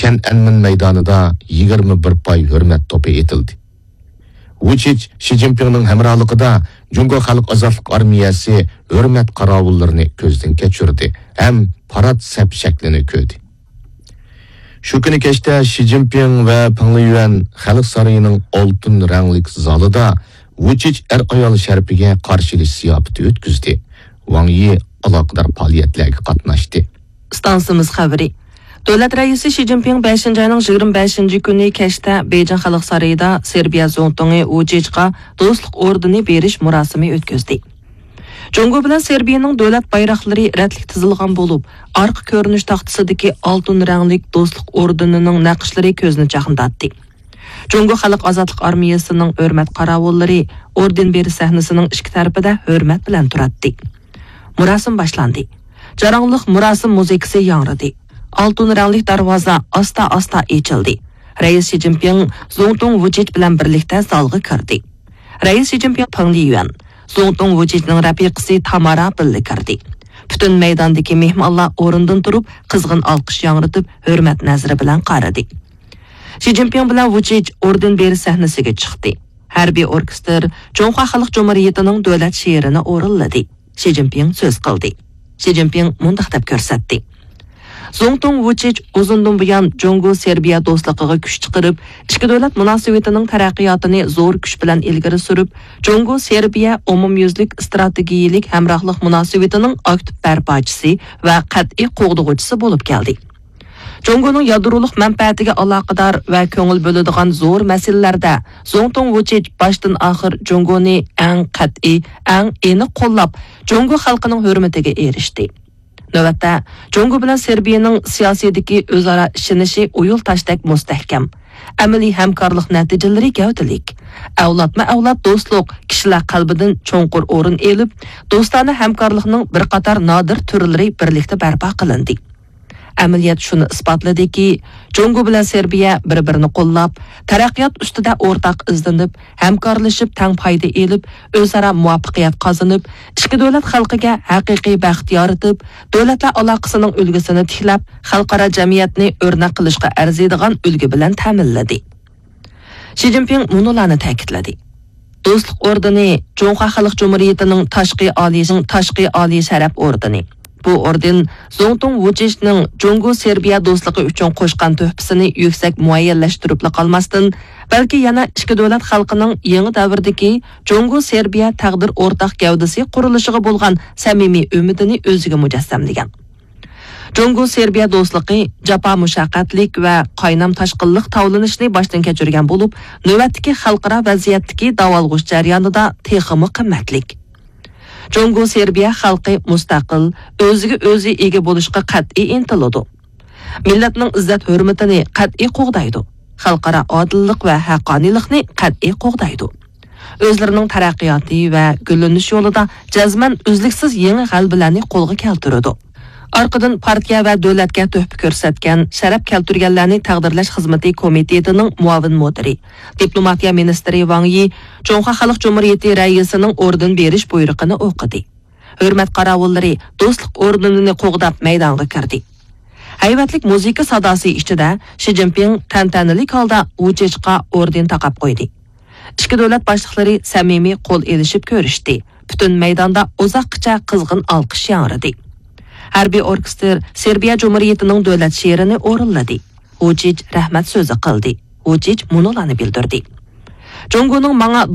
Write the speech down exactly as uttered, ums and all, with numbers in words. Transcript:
تيەنئەنمېن مەيدانىدا يىگىرمە بىر پاي ھۆرمەت توپى ئېتىلدى. ۋۇچىچ شى جىنپىڭنىڭ ھەمراھلىقىدا جۇڭگو خەلق ئازادلىق ئارمىيەسى ھۆرمەت قاراۋۇللىرىنى كۆزدىن كەچۈردى ھەم پارات سەپ شەكلىنى كۆردى. شۇ كۈنى كەچتە شى جىنپىڭ ۋە پېڭ لىيۈەن خەلق سارىيىنىڭ ئالتۇن رەڭلىك زالىدا ۋۇچىچ ئەر-ئايال شەرىپىگە قارشى ئېلىش زىياپىتى ئۆتكۈزدى. ۋاڭ يى ئالاقىدار پائالىيەتلەرگە قاتناشتى. ئىستانسىمىز خەۋىرى. دۆلەت رەئىسى شى جىنپىڭ بەشىنچى ئاينىڭ يىگىرمە بەشىنچى كۈنى كەچتە بېيجىڭ خەلق سارىيىدا سېربىيە زۇڭتۇڭى ۋۇچىچقا دوستلۇق ئوردېنى بېرىش مۇراسىمى ئۆتكۈزدى. جۇڭگو بىلەن سېربىيەنىڭ دۆلەت بايراقلىرى رەتلىك تىزىلغان بولۇپ، ئارقا كۆرۈنۈش تاختىسىدىكى ئالتۇن رەڭلىك دوستلۇق ئوردېنىنىڭ نەقىشلىرى كۆزنى چاقنىتاتتى. جۇڭگو خەلق ئازادلىق ئارمىيەسىنىڭ ھۆرمەت قاراۋۇللىرى ئوردېن بېرىش سەھنىسىنىڭ ئىككى تەرىپىدە ھۆرمەت بىلەن تۇراتتى. مۇراسىم باشلاندى. جاراڭلىق مۇراسىم مۇزىكىسى ياڭرىدى. ئالتۇن رەڭلىك دەرۋازا ئاستا-ئاستا ئېچىلدى. رەئىس شى جىنپىڭ زۇڭتۇڭ ۋۇچىچ بىلەن بىرلىكتە زالغا كىردى. رەئىس شى جىنپىڭ پېڭ لىيۈەن، زۇڭتۇڭ ۋۇچىچنىڭ رەپىقىسى تامارا بىللە كىردى. پۈتۈن مەيداندىكى مېھمانلار ئورنىدىن تۇرۇپ، قىزغىن ئالقىش ياڭرىتىپ، ھۆرمەت نەزىرى بىلەن قارىدى. شى جىنپىڭ بىلەن ۋۇچىچ ئوردېن بېرىش سەھنىسىگە چىقتى. ھەربىي ئوركېستىر جۇڭخۇا خەلق جۇمھۇرىيىتىنىڭ دۆلەت شېئىرىنى ئورۇنلىدى. شى جىنپىڭ سۆز قىلدى. شى جىنپىڭ مۇنداق دەپ كۆرسەتتى. زۇڭتۇڭ ۋۇچىچ ئۇزۇندىن بۇيان جۇڭگو سېربىيە دوستلۇقىغا كۈچ چىقىرىپ، ئىككى دۆلەت مۇناسىۋىتىنىڭ تەرەققىياتىنى زور كۈچ بىلەن ئىلگىرى سۈرۈپ، جۇڭگو سېربىيە ئومۇميۈزلۈك ئىستراتېگىيەلىك ھەمراھلىق مۇناسىۋىتىنىڭ ئاكتىپ بەرپاچىسى ۋە قەتئىي قوغدىغۇچىسى بولۇپ كەلدى. جۇڭگونىڭ يادرولۇق مەنپەئەتىگە ئالاقىدار ۋە كۆڭۈل بۆلىدىغان زور مەسىلىلەردە زۇڭتۇڭ ۋۇچىچ باشتىن ئاخىر جۇڭگونى ئەڭ قەتئىي، ئەڭ ئېنىق قوللاپ، جۇڭگو خەلقىنىڭ ھۆرمىتىگە ئېرىشتى. نۆۋەتتە، جۇڭگو بىلەن سېربىيەنىڭ سىياسىيدىكى ئۆزئارا ئىشىنىشى ئويۇل تاشتەك مۇستەھكەم. ئەمەلىي ھەمكارلىق نەتىجىلىرى گەۋدىلىك. ئەۋلادمۇ ئەۋلاد دوستلۇق كىشىلەر قەلبىدىن چوڭقۇر ئورۇن ئېلىپ، دوستانە ھەمكارلىقنىڭ بىر قاتار نادىر تۈرلىرى بىرلىكتە بەرپا قىلىندى. ئەمەلىيەت شۇنى ئىسپاتلىدىكى، جۇڭگو بىلەن سېربىيە بىر-بىرىنى قوللاپ، تەرەققىيات ئۈستىدە ئورتاق ئىزدىنىپ، ھەمكارلىشىپ تەڭ پايدا ئېلىپ، ئۆزئارا مۇۋەپپەقىيەت قازىنىپ، ئىككى دۆلەت خەلقىگە ھەقىقىي بەخت يارىتىپ، دۆلەتلەر ئالاقىسىنىڭ ئۈلگىسىنى تىكلەپ، خەلقئارا جەمئىيەتنى ئۆرنەك قىلىشقا ئەرزىيدىغان ئۈلگە بىلەن تەمىنلىدى. شى جىنپىڭ مۇنۇلارنى تەكىتلىدى. دوستلۇق ئوردېنى جۇڭخۇا خەلق جۇمھۇرىيىتىنىڭ تاشقى ئالىي، تاشقى ئالىي شەرەپ ئوردېنى. بۇ ئوردېن زۇڭتۇڭ ۋۇچىچنىڭ جۇڭگو سېربىيە دوستلۇقى ئۈچۈن قوشقان تۆھپىسىنى يۈكسەك مۇئەييەنلەشتۈرۈپلا قالماستىن، بەلكى يەنە ئىككى دۆلەت خەلقىنىڭ يېڭى دەۋردىكى جۇڭگو سېربىيە تەقدىر ئورتاق گەۋدىسى قۇرۇلۇشىغا بولغان سەمىمىي ئۈمىدىنى ئۆزىگە مۇجەسسەملىگەن. جۇڭگو سېربىيە دوستلۇقى جاپا مۇشەققەتلىك ۋە قاينام تاشقىنلىق تاۋلىنىشنى باشتىن كەچۈرگەن بولۇپ، نۆۋەتتىكى خەلقئارا ۋەزىيەتتىكى داۋالغۇش جەريانىدا تېخىمۇ قىممەتلىك. جۇڭگو سېربىيە خەلقى مۇستەقىل، ئۆزىگە ئۆزى ئىگە بولۇشقا قەتئىي ئىنتىلىدۇ. مىللەتنىڭ ئىززەت-ھۆرمىتىنى قەتئىي قوغدايدۇ. خەلقئارا ئادىللىق ۋە ھەققانىيلىقنى قەتئىي قوغدايدۇ. ئۆزلىرىنىڭ تەرەققىياتى ۋە گۈللىنىش يولىدا جەزمەن ئۈزلۈكسىز يېڭى غەلىبىلەرنى قولغا كەلتۈرىدۇ. ئارقىدىن پارتىيە ۋە دۆلەتكە تۆھپە كۆرسەتكەن، شەرەپ كەلتۈرگەنلەرنى تەقدىرلەش خىزمىتى كومىتېتىنىڭ مۇئاۋىن مۇدىرى، دىپلوماتىيە مىنىستىرى ۋاڭ يى جۇڭخۇا خەلق جۇمھۇرىيىتى رەئىسىنىڭ ئوردېن بېرىش بۇيرۇقىنى ئوقۇدى. ھۆرمەت قاراۋۇللىرى دوستلۇق ئوردېنىنى قوغداپ مەيدانغا كىردى. ھەيۋەتلىك مۇزىكا ساداسى ئىچىدە شى جىنپىڭ تەنتەنىلىك ھالدا ۋۇچىچقا ئوردېن تاقاپ قويدى. ئىككى دۆلەت باشلىقلىرى سەمىمىي قول ئېلىشىپ كۆرۈشتى. پۈتۈن مەيداندا ئۇزاققىچە قىزغىن ئالقىش ياڭرىدى. ھەربىي ئوركېستىر سېربىيە جۇمھۇرىيىتىنىڭ دۆلەت شېئىرىنى ئورۇنلىدى. ۋۇچىچ رەھمەت سۆزى قىلدى. ۋۇچىچ مۇنۇلارنى بىلدۈردى. جۇڭگونىڭ ماڭا